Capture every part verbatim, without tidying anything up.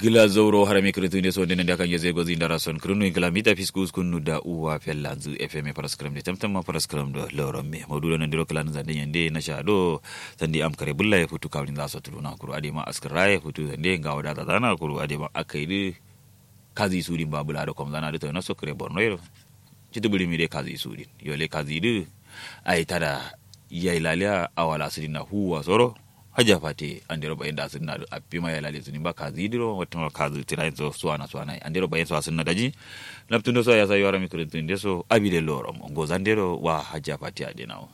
Gla zauro harami kǝrǝntǝ nde so nde nande akan ngeze gozi ndara son kǝrǝnnu in kǝla mita fisku uskun nu da uwa fellanzǝ fm faraskǝram de tamtamma faraskǝram do lorom me maudu do nandiro kǝla nǝ zande yande nasha do. Sande am kare bulla ye futu kawlin za so tuluna kuru adema askǝra ye futu sande ngawo da zazana kuru adema akai dǝ. Kazi sudin ba bula do komzana dǝ tono so kǝre borno ye do. Citǝ bǝrimi de kazi sudin yole kazi dǝ. Ai tada yailaliya awala sudin na huwa soro. Hajja fate andero bayin da sudin na dǝ affima yailali sudin ba kazi dǝ ro wattama kazi tirayin so suwana suwana andero bayin so asudin na daji. Naftundo so yasa yawara mi kǝrintun de so abi de loro mo ngozan de ro wa hajja fate ade nawo.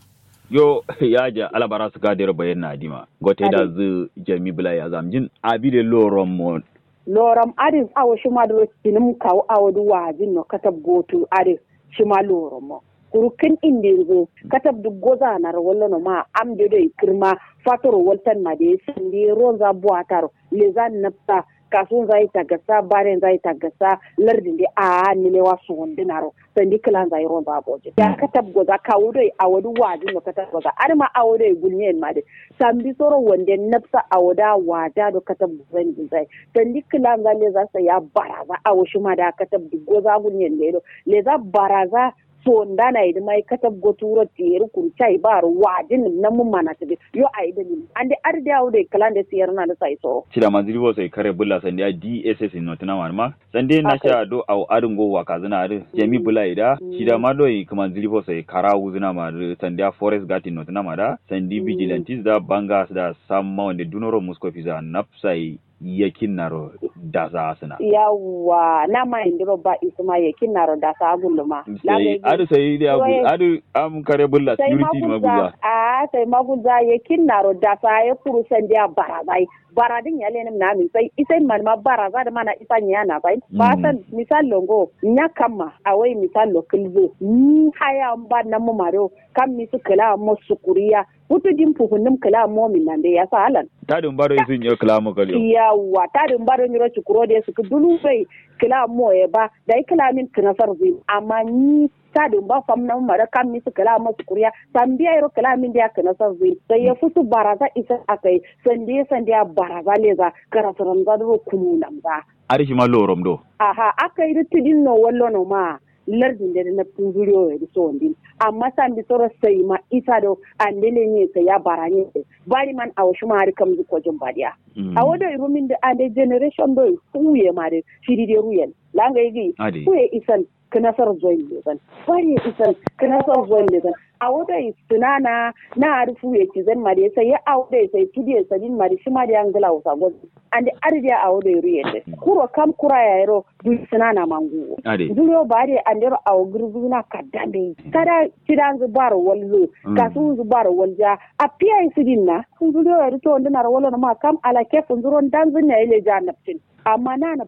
Yo yaja alabara suka dero bayin na adima gote da zu jami bula ya zamjin abi de loro mo. Loram adǝ awo shima dǝ ro cinǝm kawu awo dǝ wajin no katab gotu adǝ. Shima loram mo kuru kǝn indinzǝ katab dǝ gozanaro wallono ma am de doi kǝrma fatoro waltan ma de sande ronza buwataro leza nabsa kasunza itagasa barenza itagasa lardin de a'a nilewa sowondǝnaro sandi kǝlanza ironza bojin ya katab goza kawu doi awo dǝ wajin no katab goza adǝma awo doi gulnyen ma dǝ sambi soro wande nabsa awo da waja do katab gozan gulzai. Sandi kǝlanza leza sai ya baraza awo shima da katab dǝ goza gulnyen de do leza baraza. Sondana ye dǝma ye katab goturo tiyeri kuru chai baro wajin nǝm namu mana tǝdǝ yo ayi dalil ande adǝ de awo doi kǝlande siyerna dǝ sai soro. Cida manzili bo sai kare bulla sandi a dss notǝna ma dǝma. Sande nasha do awo adǝ ngo wakazǝna adǝ jami bǝla ida shida ma doi kǝman zilifo sai kara wuzǝna ma dǝ sande a forest gatin notǝna ma da sandi vigilantis da banga da samma wande dunoro musko fiza nafsai yakin naro dasa asǝna. Yawwa nama indiro ba isuma yakin naro dasa agulluma. Sai adǝ sai dai agu adǝ am kare bǝlla sai security ma magulza gulza. A sai magulza yakin naro dasa ya kuru sande a barazai. Baradin ya lenim na min sai isai man ma baraza da mana isa nya na sai ba san misal longo nya kamma awai misal lo kilzo ni haya mba na mu maro kam misu kala mo sukuriya. Futu din fufunnum kala mo min nan de ya sa alan. Tadin baro isu nyo kala mo kaliyo. Yawa tadin baro nyiro cikuro de su dulu bai kala mo e ba dai kala min kinasar zin amma ni tadǝ mba fam namǝma dǝ kam misǝ kǝla masǝ kuriya sambiya yero kǝla mindiya kǝnasar zǝ sai ye futu baraza isǝ akai. Sandiye sandiya baraza leza karasǝramza dǝro kunu namza. Adǝ shima lorom do. Aha akai dǝ tǝdin no wallo no ma lardin dǝ dǝ naptǝn zuriyo ye dǝ sowondin. Amma sambi soro sai ma isa do ande lenye sai ya baranye. Bari man awo shima adǝ kamzǝ kojin badiya. Awo doi rumin dǝ ande generation doi fuye ma dǝ shiri dǝ ruyen. Langai gǝ fuye isan kǝnasar zoin lezan. Bare isan kǝnasar zoin lezan. Awo doi sǝnana na adǝ fuye cizan ma dǝ sai ya awo doi sai tudiye sadin ma dǝ shima dǝ ya ngǝla wusa gozin. Ande adǝ dǝ ya awo doi ruyen dǝ kuro kam kura yayiro duri sǝnana ma nguwo. Duriyo ba dǝ andero awo gǝrzuna kaddan dǝ yi kada cidanzǝ baro walzǝ. Kasunzǝ baro walja afiya yi sǝdin na. Duriyo yadǝ to ndǝnaro wallo noma kam ala kefu nzuro ndanzǝ ne ile ja naftin. Amma nana